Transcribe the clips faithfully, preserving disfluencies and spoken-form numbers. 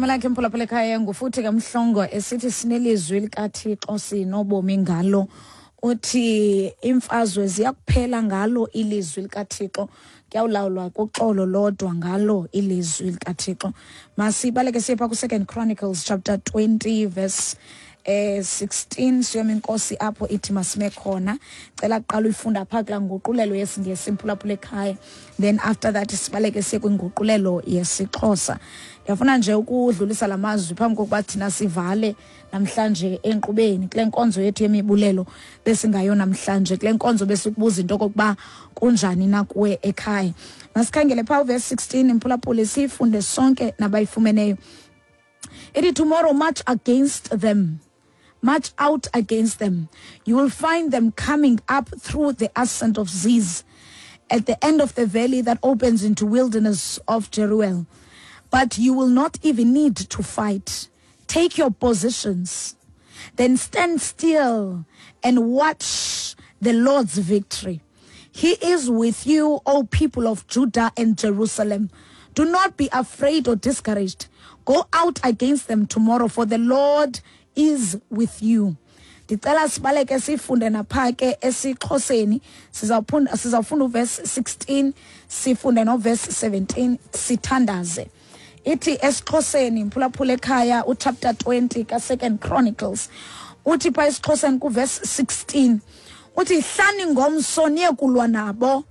Igama lakhe, mphulaphula ekhaya, ngufuthi kaMhlongo esithi sinelizwi likaThixo, sinobomi ngalo. Uthi imfazwe ziyakuphela ngalo ilizwi likaThixo, kuyawulawulwa kuxolo lodwa ngalo ilizwi likaThixo. Masibaleke siye phaa ku-Second Chronicles chapter twenty verse eh sixteen, siyoma inkosi apho ithi masime khona. Cela kuqala uyifunda phaa kulaa nguqulelo yesiNgesi, mphulaphula ekhaya, then after that sibaleke siye kwinguqulelo yesiXhosa. Ndiyafuna nje ukudlulisa la mazwi phambi kokuba thina sivale namhlanje enkqubeni kule nkonzo yethu yemibulelo besingayo namhlanje, kule nkonzo besikubuza into okokuba kunjani na kuwe ekhaya. Masikhangele phaa uvesi sixteen, mphulaphuli, siyifunde sonke nabayifumeneyo. Ithi, "Tomorrow march against them. March out against them. You will find them coming up through the ascent of Ziz, at the end of the valley that opens into wilderness of Jeruel. But you will not even need to fight. Take your positions. Then stand still and watch the Lord's victory. He is with you, O people of Judah and Jerusalem. Do not be afraid or discouraged. Go out against them tomorrow, for the Lord is with you." Ndicela sibaleke sifunde napha ke esiXhoseni. Sizawufunda sizawufunda uvesi sixteen, sifunde novesi seventeen, sithandaze. Ithi esiXhoseni, mphulaphula ekhaya, uchapter twenty ka-Second Chronicles, uthi phaa esiXhoseni kuvesi sixteen, uthi, "Hlani ngomso niye kulwa nabo.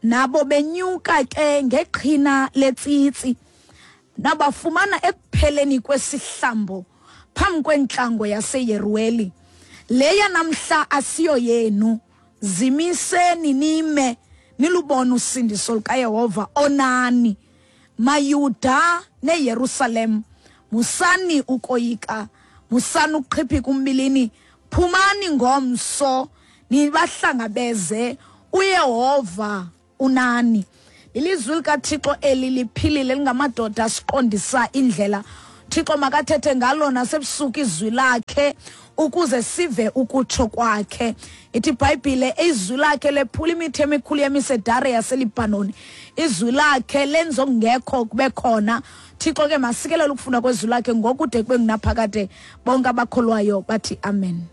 Nabo benyuka ke ngeqhina letsitsi, nabafumana ekupheleni kwesihlambo phambi kwentlango yaseYeruweli. Leya namhla asiyo yenu. Zimiseni nime, nilubone usindiso lukaYehova onani. MaYuda neYerusalem, musani ukoyika, musani ukuqhiphika umbilini. Phumani ngomso nibahlangabeze, uYehova unani." Ilizwi likaThixo eli liphilile, lingamadoda asiqondisa indlela. Thixo makathethe ngalo nasebusuku izwi lakhe ukuze sive ukutsho kwakhe. Ithi iBhayibhile, izwi lakhe lephula imithi emikhulu yemisedare yaseLibhanoni, izwi lakhe lenza okungekho kube khona. Thixo ke masikelele ukufunda kwezwi lakhe ngokude kube ngunaphakade. Bonke abakholwayo bathi amen.